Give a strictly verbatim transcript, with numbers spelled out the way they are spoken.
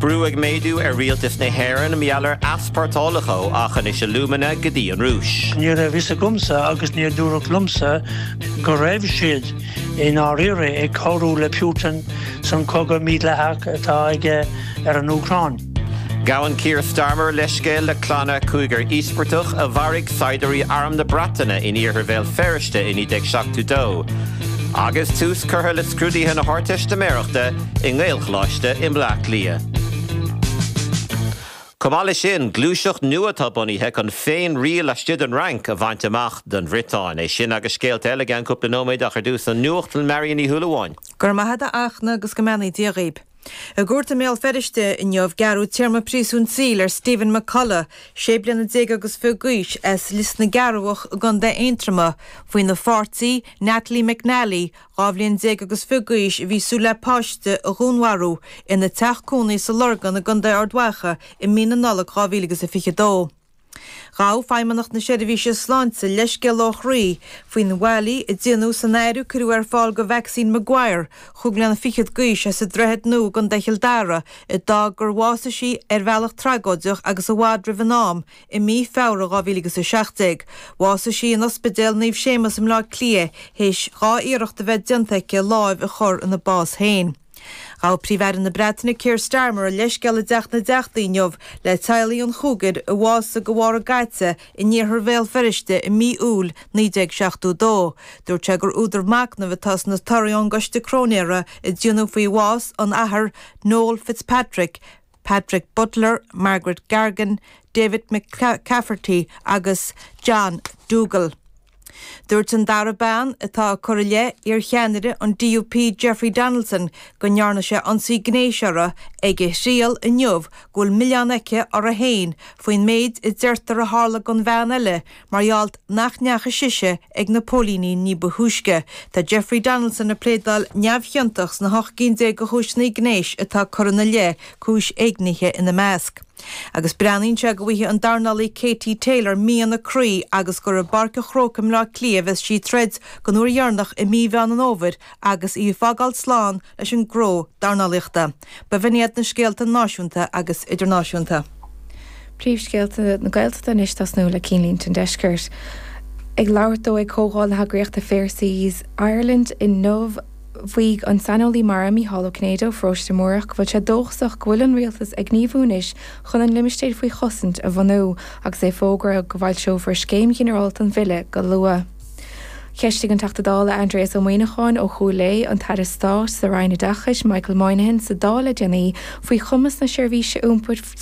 Brú ag méadú ar rialtas na hÉireann mar gheall ar easpórtálacha ó Aughinish Alumina go dtí an Rúis. Ní raibh fhios agamsa agus níor dúradh liomsa go raibh siad i ndáiríre ag cabhrú le Putin san cogadh mídhleathach atá aige ar an Úcráin. Gabhann Keir Starmer leithscéal le clanna cúigear íospartach a mharaigh saighdiúirí Arm na Breataine in iarthar Bhéal Feirste i naoi déag seachtó dó. Agus tús curtha le scrúduithe na hArdteistiméireachta i nGaelcholáiste i mBleá Cliath. Chomh maith leis sin gluaiseacht nua atá bunaithe chun féin-riail laistigh den Fhrainc a bhaint amach don Bhriotáin. É sin agus scéalta eile i gceann cúpla nóiméad ach ar dtús an nuacht le Marion Ní Shúilleabháin. Gur maithe a achna agus go mbeannaí Dia dhaoib. I gcúirt i mBéal Feirste inniu gearradh téarma príosúin saoil ar Stephen McCullough, sé bliana déag agus fiche d'aois as Lios na gCearrbhach i gContae Aontroma, faoina pháirtí Natalie McNally, dhá bhliain déag agus fiche d'aois a bhí súil le páiste a dhúnmharú ina teach cónaí sa Lorgan i gContae Ard Mhacha i mí na Nollag dhá mhíle agus a fiche dó. Ghabh Feidhmeannacht na Seirbhíse Sláinte leithscéal ó chroí faoin bhfaillí a déanadh san áireamh cuireadh ar fáil go Maxine Maguire chúig bliana fichead d'aois as an Droichead Nua i gContae Chill Dara a d'fhág gur bhásaigh sí ar bhealach tragóideach agus i bhfad roimh an am i mí Feabhra dhá mhíle agus a seacht déag. Bhásaigh sí in Ospidéal Naomh Séamus i mBleá Cliath théis dhá iarracht a bheith déanta aici lámh a chur ina bás féin. Ghabh Príomh-Aire na Breataine Keir Starmer a leithscéal i dTeach na dTeachtaí inniu le teaghlaigh an chúigir a bhásaigh de bharr a gcaite in iarthar Bhéal Feirste i mí Iúil naoi déag seachtó dó. Dúirt sé gur údar machnaimh atá sna torthaí ón gcoiste cróinéara a déanadh faoi bhás an athar Noel Fitzpatrick, Patrick Butler, Margaret Gargan, David McCafferty agus John Dougal. Dúirt an dara bean atá á cur i leith iar-cheannaire an DUP Jeffrey Donaldson go ndearna sé ionsaí gnéis uirthi ag a thriail inniu go bhfuil milleán aici uirthi féin faoin méid a deirtear a tharla don bhean eile mar gheall nach ndeachaigh sise ag na póilíní ní ba thúisce. Tá Jeffrey Donaldson ag pléadáil neamhchiontach sna hocht gcinn déag de chúiseanna gnéis atá curtha ina leith, cúis éignithe ina measc. Agus breathnaíonn sé go bhfaighidh an dornálaí Katie Taylor mian a croí agus gur i bPáirc an Chrócaigh i mBleá Cliath a bheas sí ag troid don uair dheireanach i mí Mheán an Fhómhair agus í ag fágáil slán leis an ngnó dornálaíochta. B'in iad na scéalta náisiúnta agus idirnáisiúnta. Príomhscéalta na Gaeltachta anois tosnú le Cinnlínte an Deiscirt. Ag labhairt dó ag comhdháil na heagraíochta Fair Seas Ireland inniu mhaígh an saineolaí mara Mícheál Ó Cinnéide ó Pharóiste Múrach go bhfuil sé dóchasach go bhfuil an rialtas ag gníomhú anois chun an limistéar faoi chosaint a bhunú agus é ag fógairt go bhfoilseofar scéim ghinearálta an bhille go luath. Cheistigh an Teachta Dála Aindrias Ó Muimhneacháin ó Chúil Aodha an tAire Stáit sa Roinn Oideachais Michael Moynihan sa Dáil le déanaí faoi chumas na seirbhíse iompair